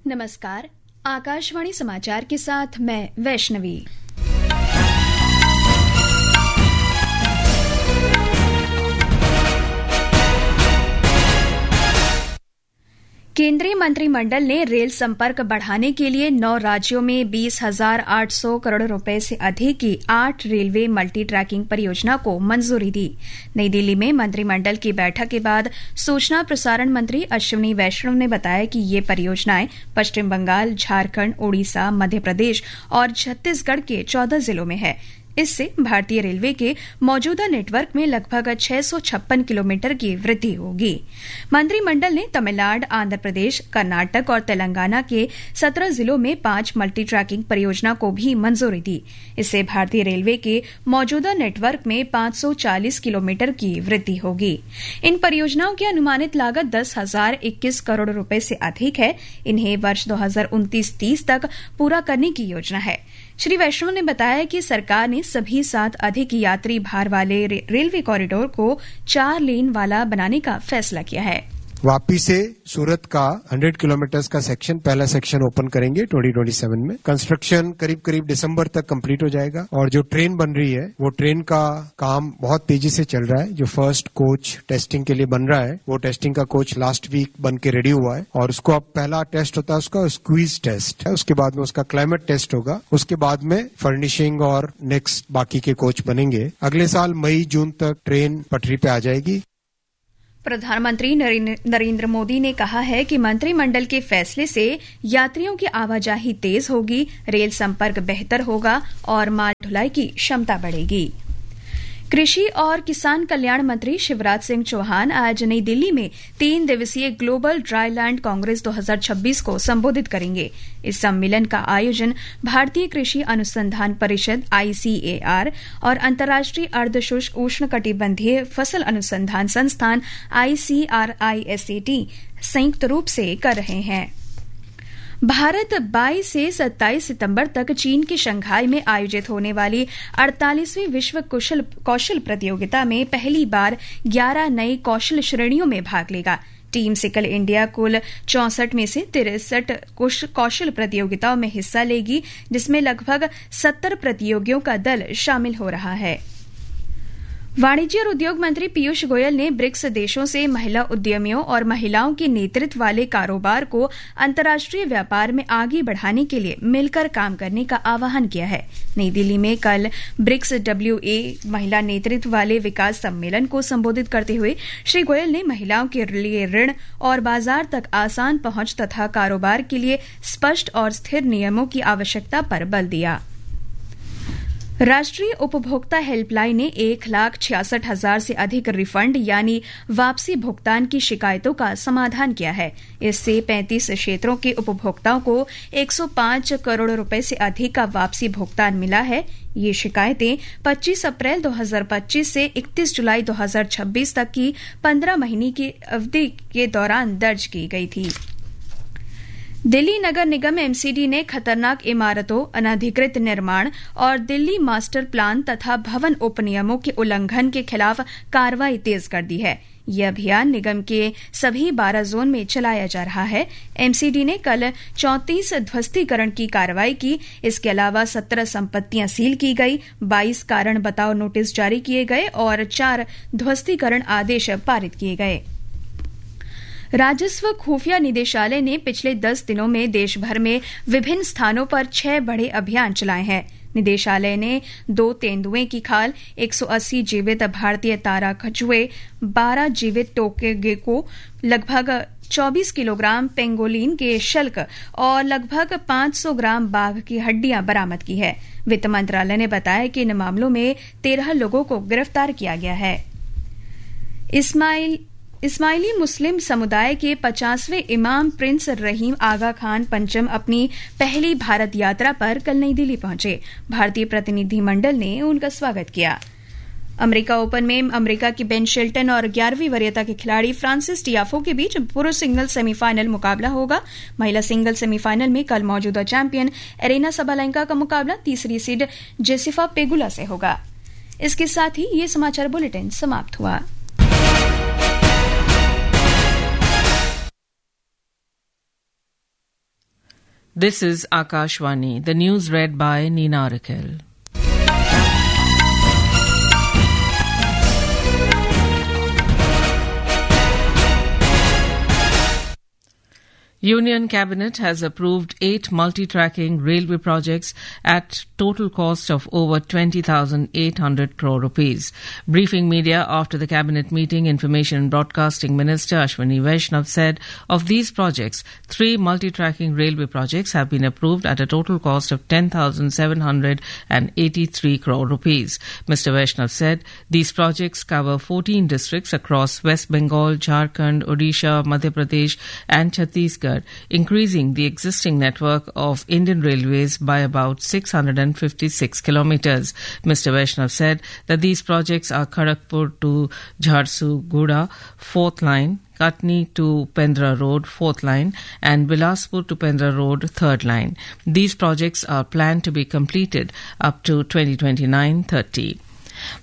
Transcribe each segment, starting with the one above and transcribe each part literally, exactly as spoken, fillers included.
नमस्कार, आकाशवाणी समाचार के साथ मैं वैष्णवी। केंद्रीय मंत्रिमंडल ने रेल संपर्क बढ़ाने के लिए नौ राज्यों में बीस हजार आठ सौ करोड़ रुपए से अधिक की आठ रेलवे मल्टी ट्रैकिंग परियोजना को मंजूरी दी। नई दिल्ली में मंत्रिमंडल की बैठक के बाद सूचना प्रसारण मंत्री अश्विनी वैष्णव ने बताया कि ये परियोजनाएं पश्चिम बंगाल, झारखंड, उड़ीसा, मध्य प्रदेश और छत्तीसगढ़ के चौदह जिलों में है। इससे भारतीय रेलवे के मौजूदा नेटवर्क में लगभग छह सौ छप्पन किलोमीटर की वृद्धि होगी। मंत्रिमंडल ने तमिलनाडु, आंध्र प्रदेश, कर्नाटक और तेलंगाना के सत्रह जिलों में पांच मल्टी ट्रैकिंग परियोजना को भी मंजूरी दी। इससे भारतीय रेलवे के मौजूदा नेटवर्क में पांच सौ चालीस किलोमीटर की वृद्धि होगी। इन परियोजनाओं की अनुमानित लागत दस हजार इक्कीस करोड़ रुपए से अधिक है। इन्हें वर्ष दो हज़ार उनतीस तीस तक पूरा करने की योजना है। श्री वैष्णव ने बताया कि सरकार ने सभी सात अधिक यात्री भार वाले रे-, रेलवे कॉरिडोर को चार लेन वाला बनाने का फैसला किया है। वापी से सूरत का हंड्रेड किलोमीटर्स का सेक्शन, पहला सेक्शन ओपन करेंगे ट्वेंटी ट्वेंटी सेवन में। कंस्ट्रक्शन करीब करीब दिसंबर तक कंप्लीट हो जाएगा और जो ट्रेन बन रही है, वो ट्रेन का काम बहुत तेजी से चल रहा है। जो फर्स्ट कोच टेस्टिंग के लिए बन रहा है, वो टेस्टिंग का कोच लास्ट वीक बन के रेडी हुआ है और उसको अब पहला टेस्ट होता है उसका स्क्वीज टेस्ट है, उसके बाद में उसका क्लाइमेट टेस्ट होगा, उसके बाद में फर्निशिंग और नेक्स्ट बाकी के कोच बनेंगे। अगले साल मई जून तक ट्रेन पटरी पे आ जाएगी। प्रधानमंत्री नरेंद्र, नरेंद्र मोदी ने कहा है कि मंत्रिमंडल के फैसले से यात्रियों की आवाजाही तेज होगी, रेल संपर्क बेहतर होगा और माल ढुलाई की क्षमता बढ़ेगी। कृषि और किसान कल्याण मंत्री शिवराज सिंह चौहान आज नई दिल्ली में तीन दिवसीय ग्लोबल ड्राई लैंड कांग्रेस दो हज़ार छब्बीस को संबोधित करेंगे। इस सम्मेलन का आयोजन भारतीय कृषि अनुसंधान परिषद, आईसीएआर, और अंतर्राष्ट्रीय अर्धशुष्क उष्णकटिबंधीय फसल अनुसंधान संस्थान, आईसीआरआईएसएटी, संयुक्त रूप से कर रहे हैं। भारत बाईस से सत्ताईस सितंबर तक चीन के शंघाई में आयोजित होने वाली अड़तालीसवीं विश्व कुशल, कौशल प्रतियोगिता में पहली बार ग्यारह नई कौशल श्रेणियों में भाग लेगा। टीम सिकल इंडिया कुल चौसठ में से तिरसठ कुश-, कौशल प्रतियोगिताओं में हिस्सा लेगी, जिसमें लगभग सत्तर प्रतियोगियों का दल शामिल हो रहा है। वाणिज्य और उद्योग मंत्री पीयूष गोयल ने ब्रिक्स देशों से महिला उद्यमियों और महिलाओं के नेतृत्व वाले कारोबार को अंतर्राष्ट्रीय व्यापार में आगे बढ़ाने के लिए मिलकर काम करने का आह्वान किया है। नई दिल्ली में कल ब्रिक्स डब्ल्यूए महिला नेतृत्व वाले विकास सम्मेलन को संबोधित करते हुए श्री गोयल ने महिलाओं के लिए ऋण और बाजार तक आसान पहुंच तथा कारोबार के लिए स्पष्ट और स्थिर नियमों की आवश्यकता पर बल दिया। राष्ट्रीय उपभोक्ता हेल्पलाइन ने एक लाख छियासठ हजार से अधिक रिफंड यानी वापसी भुगतान की शिकायतों का समाधान किया है। इससे पैंतीस क्षेत्रों के उपभोक्ताओं को एक सौ पाँच करोड़ रुपए से अधिक का वापसी भुगतान मिला है। ये शिकायतें पच्चीस अप्रैल दो हज़ार पच्चीस से इकतीस जुलाई दो हज़ार छब्बीस तक की पन्द्रह महीने की अवधि के दौरान दर्ज की गई थी। दिल्ली नगर निगम, एमसीडी, ने खतरनाक इमारतों, अनधिकृत निर्माण और दिल्ली मास्टर प्लान तथा भवन उपनियमों के उल्लंघन के खिलाफ कार्रवाई तेज कर दी है। ये अभियान निगम के सभी बारह जोन में चलाया जा रहा है। एमसीडी ने कल चौंतीस ध्वस्तीकरण की कार्रवाई की। इसके अलावा सत्रह संपत्तियां सील की गई, बाईस कारण बताओ नोटिस जारी किए गए और चार ध्वस्तीकरण आदेश पारित किए गए। राजस्व खुफिया निदेशालय ने पिछले दस दिनों में देश भर में विभिन्न स्थानों पर छह बड़े अभियान चलाए हैं। निदेशालय ने दो तेंदुए की खाल, एक सौ अस्सी जीवित भारतीय तारा कछुए, बारह जीवित टोके गेको, लगभग चौबीस किलोग्राम पेंगोलिन के शल्क और लगभग पाँच सौ ग्राम बाघ की हड्डियां बरामद की है। वित्त मंत्रालय ने बताया कि इन मामलों में तेरह लोगों को गिरफ्तार किया गया है। इस्माइल, इस्माइली मुस्लिम समुदाय के पचासवें इमाम प्रिंस रहीम आगा खान पंचम अपनी पहली भारत यात्रा पर कल नई दिल्ली पहुंचे। भारतीय प्रतिनिधिमंडल ने उनका स्वागत किया। अमेरिका ओपन में अमेरिका की बेन शेल्टन और ग्यारहवीं वरीयता के खिलाड़ी फ्रांसिस टियाफो के बीच पुरुष सिंगल सेमीफाइनल मुकाबला होगा। महिला सिंगल सेमीफाइनल में कल मौजूदा चैंपियन एरेना सबालेंका का मुकाबला तीसरी सीड जेसिफा पेगुला से होगा। इसके साथ ही ये समाचार बुलेटिन समाप्त हुआ। This is Akashvani. The news read by Nina Rakel. Union Cabinet has approved eight multi-tracking railway projects at total cost of over twenty thousand eight hundred crore rupees. Briefing media after the cabinet meeting, Information and Broadcasting Minister Ashwini Vaishnaw said of these projects, three multi-tracking railway projects have been approved at a total cost of ten thousand seven hundred and eighty-three crore rupees. Mister Vaishnaw said these projects cover fourteen districts across West Bengal, Jharkhand, Odisha, Madhya Pradesh, and Chhattisgarh, increasing the existing network of Indian Railways by about six hundred and fifty-six kilometers. Mister Vaishnaw said that these projects are Kharagpur to Jharsuguda, fourth line, Katni to Pendra Road, fourth line, and Bilaspur to Pendra Road, third line. These projects are planned to be completed up to twenty twenty-nine thirty.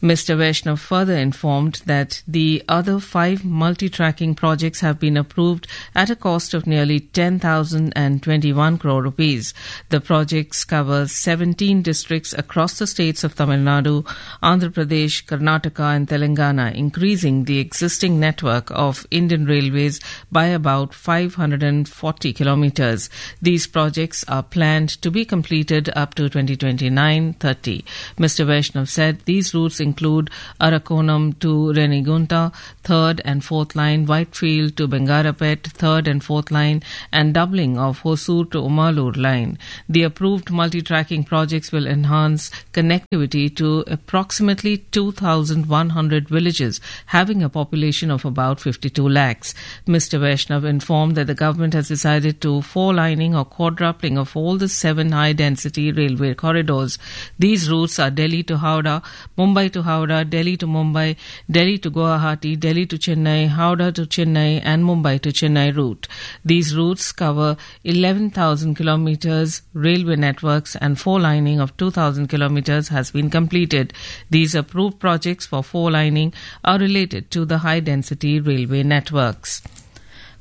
Mister Vaishnaw further informed that the other five multi-tracking projects have been approved at a cost of nearly ten thousand and twenty-one crore rupees. The projects cover seventeen districts across the states of Tamil Nadu, Andhra Pradesh, Karnataka and Telangana, increasing the existing network of Indian Railways by about five hundred and forty kilometers. These projects are planned to be completed up to twenty twenty-nine thirty. Mister Vaishnaw said these routes include Arakkonam to Renigunta, third and fourth line, Whitefield to Bangarapet, third and fourth line, and doubling of Hosur to Omalur line. The approved multi-tracking projects will enhance connectivity to approximately two thousand one hundred villages, having a population of about fifty-two lakhs. Mister Vaishnaw informed that the government has decided to four-lining or quadrupling of all the seven high-density railway corridors. These routes are Delhi to Howrah, Mumbai to Howrah, Delhi to Mumbai, Delhi to Guwahati, Delhi to Chennai, Howrah to Chennai, and Mumbai to Chennai route. These routes cover eleven thousand kilometers railway networks and four-lining of two thousand kilometers has been completed. These approved projects for four-lining are related to the high-density railway networks.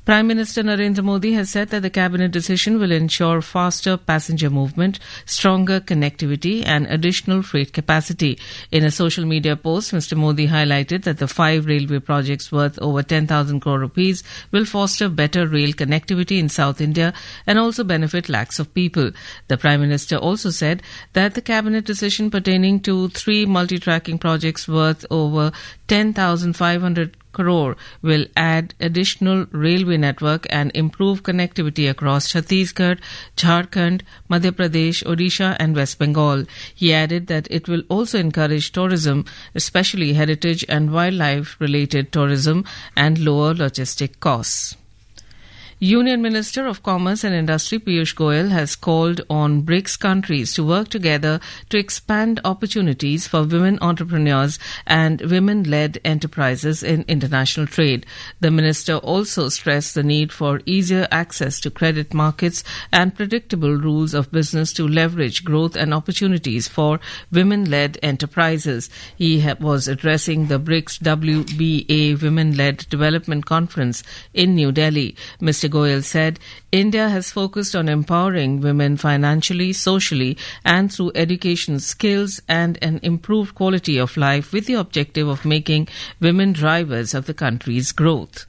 Prime Minister Narendra Modi has said that the cabinet decision will ensure faster passenger movement, stronger connectivity and additional freight capacity. In a social media post, Mister Modi highlighted that the five railway projects worth over ten thousand crore rupees will foster better rail connectivity in South India and also benefit lakhs of people. The Prime Minister also said that the cabinet decision pertaining to three multi-tracking projects worth over ten thousand five hundred crore will add additional railway network and improve connectivity across Chhattisgarh, Jharkhand, Madhya Pradesh, Odisha and West Bengal. He added that it will also encourage tourism, especially heritage and wildlife-related tourism, and lower logistic costs. Union Minister of Commerce and Industry Piyush Goyal has called on brics countries to work together to expand opportunities for women entrepreneurs and women-led enterprises in international trade. The minister also stressed the need for easier access to credit markets and predictable rules of business to leverage growth and opportunities for women-led enterprises. He ha-, was addressing the brics W B A Women-Led Development Conference in New Delhi. Mister Goyal said India has focused on empowering women financially, socially, and through education, skills, and an improved quality of life, with the objective of making women drivers of the country's growth.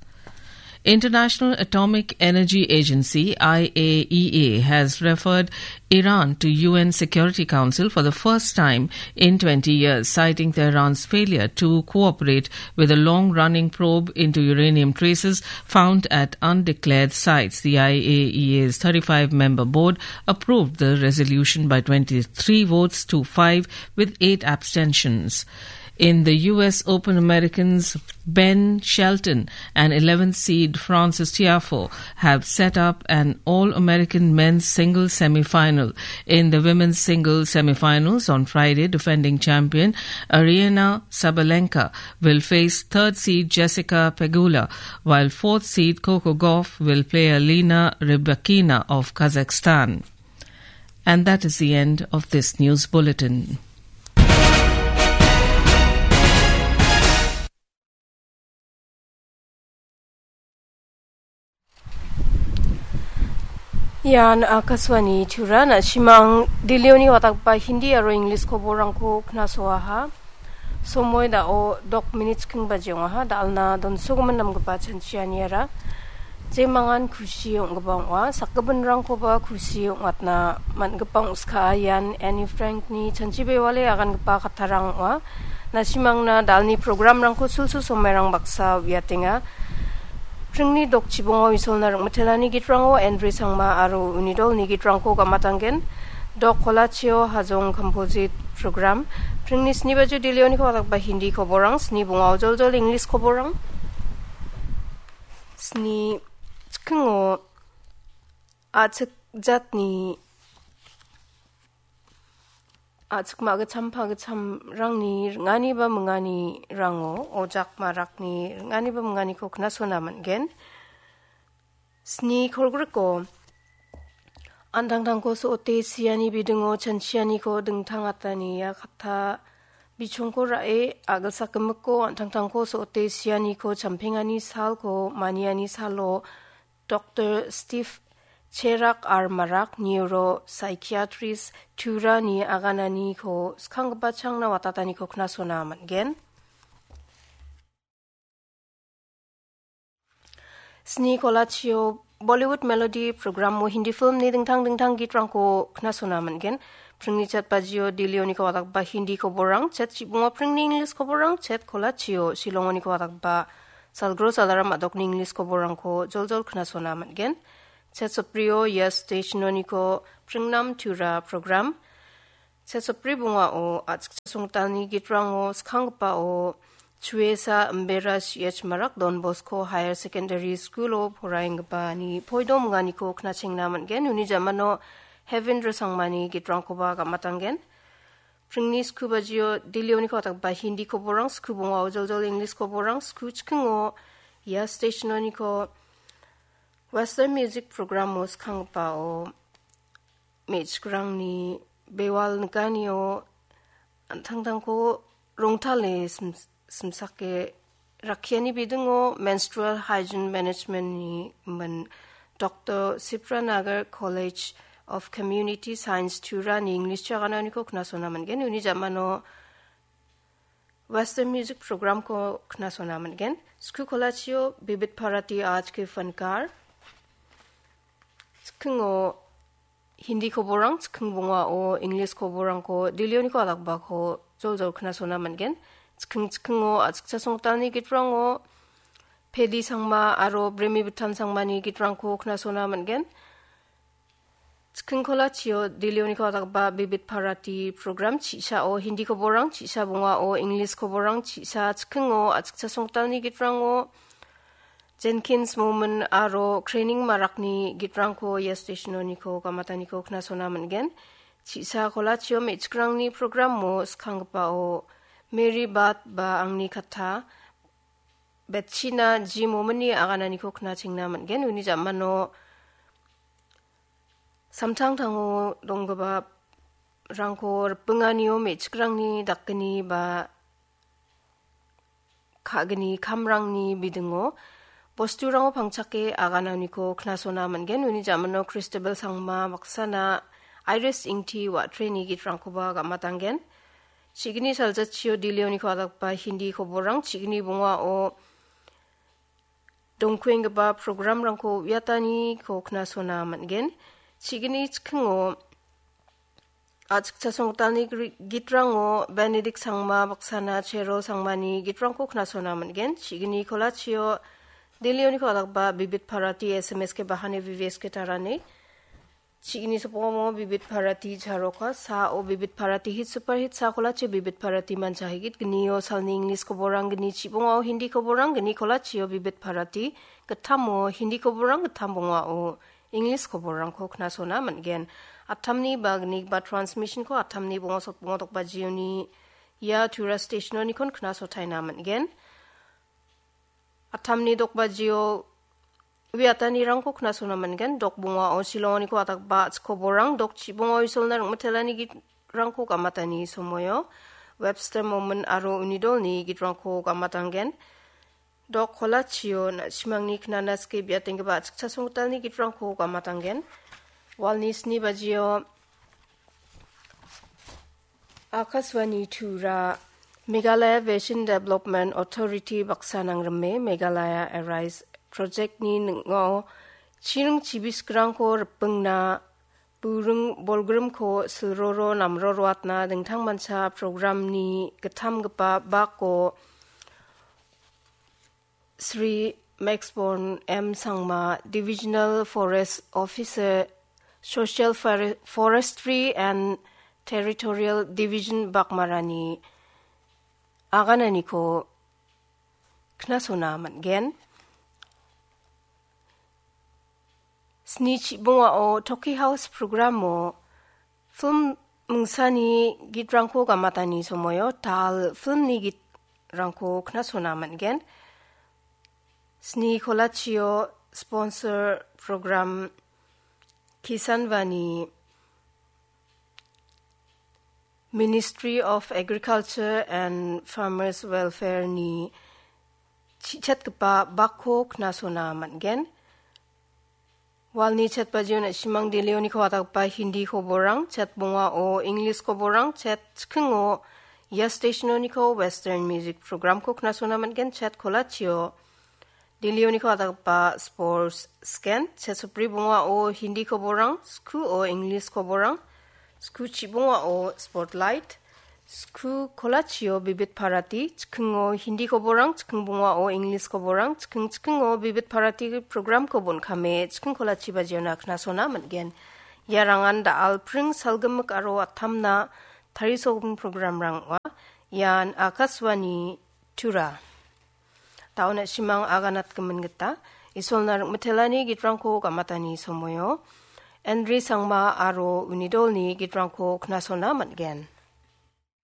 International Atomic Energy Agency, I A E A, has referred Iran to U N Security Council for the first time in twenty years, citing Tehran's failure to cooperate with a long-running probe into uranium traces found at undeclared sites. The I A E A's thirty-five member board approved the resolution by twenty-three votes to five, with eight abstentions. In the U S Open, Americans Ben Shelton and eleventh seed Frances Tiafoe have set up an All-American men's singles semifinal. In the women's singles semifinals on Friday, defending champion Aryna Sabalenka will face third seed Jessica Pegula, while fourth seed Coco Gauff will play Elena Rybakina of Kazakhstan. And that is the end of this news bulletin. Ian Akashvani Tura, na·simang Delhioni watakba Hindi aro English koborangko knasoaha. Somoi dao dok minit chikking baji ong·aha, dalna donsogimin namgipa chanchianiara. Jemangan kusi ong·gipa ong·a, sakgipinrangkoba kusi ong·atna man·gipa ong·skaa. Ian Anne Frankni chanchi bewale agangipa kattarang ong·a. Na·simangna dalni programrangko sulsul somairang baksa uiatenga. Pringni dokchibongo Isolna ring·mitelani gitrango Andre Sangma aro uni dolni gitrangko gamatanggen. Dok kolachio Hajong Composite Program. Pringni sni bajio Delhioniko watakba Hindi koborang, sni bongao joljol English koborang. Sni chikingo a·chik jatni a·chik ma·gitcham pagitchamrangni ring·ani ba mingani rango ojak marakni ring·ani ba minganiko knasona man·gen. Sni kolgriko an·tangtangko so·ote siani bidingo chanchianiko dingtang atani ia katta bichongko ra·e a·gilsak gimikko an·tangtangko so·ote sianiko champengani salko maniani salo Doktor Steve Cherak R Marak, Neuro Psychiatrist, Turani agananiko skanggipa changna watataniko knasona man·gen. Sni kolachio Bollywood Melody programo Hindi filmni dingtang dingtang gitrangko knasona man·gen. Pringni chet bajio Delhioniko watakba Hindi koborang, chet chibongo pringni English koborang, chet kolachio Shillongoniko watakba Salgro Salaram a·dokni English koborangko joljol knasona man·gen. Chet soprio Yes Stationoniko Pringnam Tura program. Chet sopri bongao a·chikcha songtalni gitrango skanggipao Chuesa Imbera C H Marak Don Bosco Higher Secondary School-o poraenggipani poido minganiko knachengna man·gen. Uni jamano Heaven Rosangmani gitrangkoba gamatanggen. Pringni sku bajio Delhioniko watakba Hindi koborang, sku bongao joljol English koborang, sku chikingo ia stationoniko Western Music programo skanggipao me·chikrangni bewal nikanio an·tangtangko rongtale sim-, simsake rakkiani bidingo Menstrual Hygiene Management-ni min Doktor Sipranagar College of Community Science Turani English chagananiko knasona man·gen. Uni jamano Western Music programko knasona man·gen. Sku kolachio Bibit Bharati Aaj Ke Fankar. Chikingo Hindi koborang, chiking bongao English koborangko Delhioniko watakbako joljol knasona man·gen. Chiking chikingo a·chikcha songtalni gitrango Pedi Sangma aro Bremi Bitan Sangmani gitrangko knasona man·gen. Chiking kolachio Delhioniko watakba Bibit Bharati program, chi·sao Hindi koborang, chi·sa bongao English koborang, chi·sa chikingo a·chikcha songtalni gitrango Jenkins Momin aro Training Marakni gitrangko ia stationoniko gamataniko knasona man·gen. Chi·sa kolachio me·chikrangni programo skanggipao Mary Bat ba Angni Katta, Betchina G Mominni agananiko knachengna man·gen. Uni jamano samtangtango donggiparangko ripinganio me·chikrangni dakgni ba ka·gni kamrangni bidingo bosturango pangchake agananiko knasona man·gen. Uni jamano Christabel Sangma baksana Iris Ingti wa·treni gitrangkoba gamatanggen. Chi·gni saljachio Delhioniko watakba Hindi koborang, chi·gni bongao dongkuenggipa programrangko uiataniko knasona man·gen. Chi·gni chikingo a·chikcha songtalni gri-, gitrango Benedict Sangma baksana Cherol Sangmani gitrangko knasona man·gen. Chi·gni kolachio Delhioniko watakba Bibit Bharati S M S ke bahane V V S ke tarane. Chi·gni sopongo Bibit Bharati charoka, sao Bibit Bharati hit super hit, sa kolachio Bibit Bharati manchahigit, gnio salni English koborang, gni chibongao Hindi koborang, gni kolachio Bibit Bharati, gittamo Hindi koborang, gittam bongao English koborangko knasona man·gen. Attamni ba gni ba transmissionko attamni bongo sotbongo dokbajioni ia Tura stationonikon knasotaina man·gen. Attamni dokbajio uiatanirangko knasona man·gen. Dok bongao Shillongoniko watakba a·chik koborang, dok chibongao Isolna ring·mitelani gitrangko gamatani somoio Webster Momin aro uni dolni gitrangko gamatanggen. Dok kolachio na·simangni knana skie biatenggipa a·chikcha songgitalni gitrangko gamatanggen. Walni sni bajio Akashvani Tura, Meghalaya Vision Development Authority baksa nangrime Meghalaya Arise Project-ni ning·o chiring chibiskrangko ripingna, buring bolgrimko silroro namroroatna dingtangmancha program-ni gittamgipa bako Sri Maxborn M Sangma, Divisional Forest Officer, Social Fore-, Forestry and Territorial Division bakmarani agananiko knasona man·gen. Sni chibongao Toki House programo film mingsani gitrangko gamatani somoio tal filmni gitrangko knasona man·gen. Sni kolachio sponsor program Kisan Vani Ministry of Agriculture and Farmers Welfare-ni chi-, chetgipa bakko knasona man·gen. Walni chet bajio na·simang Delhioniko atgipa Hindi koborang, chet bongao English koborang, chet chikingo ia stationoniko Western Music Programko knasona man·gen, chet kolachio Delhioniko atgipa Sports Scan, chet sopri bongao Hindi koborang, skuo English koborang, sku chibongao Spotlight, sku kolachio Bibit Bharati, chikingo Hindi koborang, chiking bongao English koborang, chiking chikingo Bibit Bharati programko bon·kame, chiking kolachi bajiona knasona man·gen. Ia rangan da·al pring salgimik aro atamna tarisogimin programrang ong·a. Ian Akashvani Tura. Taon na·simang aganatgimin gita, Isolna ringmitelani gitrangko gamatani somoio, Andri Sangma aro uni dolni gitrangko knasona man·gen.